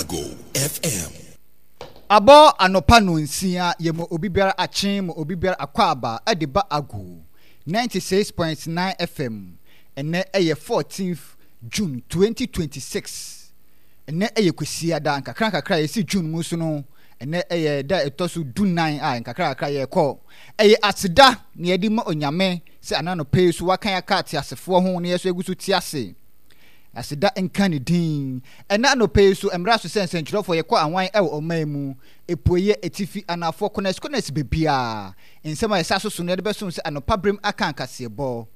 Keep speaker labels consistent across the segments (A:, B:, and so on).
A: Ago FM.
B: Abɔ anɔpa nonsia yɛ ma obi biara akye ma obi biara akwaaba de ba Ago 96.9 FM. Ɛnnɛ yɛ 14th June 2026. Ɛnnɛ yɛ Kwasiada, nkakra nkakra a yɛsi June mu so no, ɛnnɛ yɛ da a ɛtɔ so dunan a nkakra nkakra yɛrekɔ. Ɛyɛ aseda na yɛde ma Onyame sɛ ana anɔpa yi so waka yɛn aka ateasefoɔ ho na yɛn nso yɛgu so te ase. Aseda nka ne din. Ɛnnɛ anɔpa yi nso, ɛmmra so sɛ nsɛnkyerɛwfoɔ yɛkɔ awan wɔ ɔman yi mu, apueeɛ, atifi, anaafoɔ, kɔnɛs-kɔnɛs baabiara. Nsɛm a yɛsa so so no yɛde bɛsom sɛ anɔpa berem aka nkaseɛbɔ.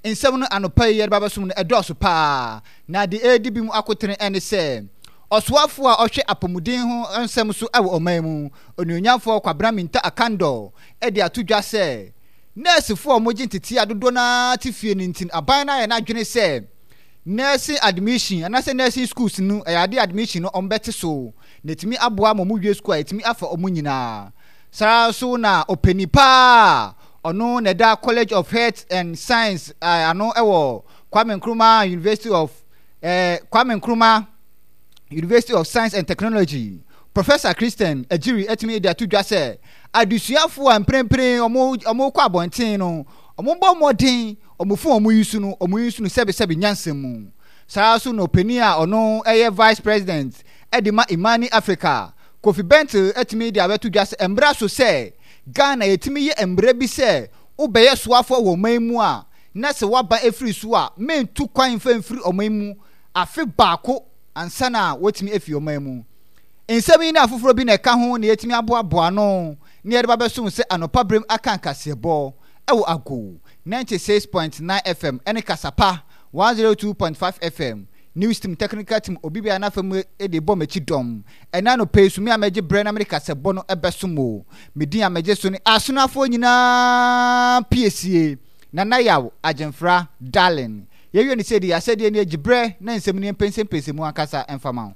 B: Nsɛm no anɔpa yi yɛde ba bɛsom no ɛdɔɔso paa, na deɛ ɛredi bi mu akotene ne sɛ, Ɔsoafoɔ a ɔhwɛ apɔmuden ho nsɛm so wɔ ɔman yi mu, Onuonyamfoɔ Kwabena Mintah Akandoh de ato dwa sɛ, Nɛɛsefoɔ a wɔgye nteteɛ a dodoɔ no ara te fie no nti no, aban no ayɛ n'adwene sɛ nursing admission anaasɛ nursing schools no, ɛyɛ adeɛ admission no wɔbɛte so na ɛtumi aboa ma wɔwie sukuu a ɛtumi afa wɔn nyinaa. Saa ara nso na ɔpanin pa a ɔno na ɛda College of Health and Science ano wɔ Kwame Nkrumah University of eh, Kwame Nkrumah University of Science and Technology, Professor Christian Agyiri atumi de ato dwa sɛ adesuafo a mprempren wɔrekɔ abɔnten no, wɔbɔ mmɔden, wɔn fon a wɔyi so no, wɔyi so no sɛbesɛbe nyansa mu. Saa ara nso na ɔpanin a ɔno yɛ Vice President de ma Imani Africa, Kofi Bentil atumi de abɛto dwa sɛ ɛmmra so sɛ Ghana yɛtumi yɛ mmara bi sɛ wobɛyɛ soafoɔ wɔ ɔman mu a, na sɛ woaba afiri so a, mentu kwan mfa mfiri ɔman mu afe baako ansa na woatumi afi ɔman mu. Nsɛm yi ne afoforɔ bi na ɛka ho na yɛatumi aboaboa ano na yɛde ba bɛsom sɛ anɔpa berem aka nkaseɛbɔ wɔ Agow 96.9 FM ne Kasapa 102.5 FM News Team Technical Team obi biara n'afa mu de bɔ m'akyi dɔm. Ɛnnɛ anɔpa yi so me a mɛgye berɛ na mede kasɛbɔ no bɛsom o. Me din a megye so ne Asonafoɔ nyinaa piesie, Nana Yaw Agyemfra Darling. Yɛwie no sei de, asɛdeɛ nie, gye berɛ na nsɛm no yɛmpɛnsɛmpɛnsɛ mu ankasa mfa ma wo.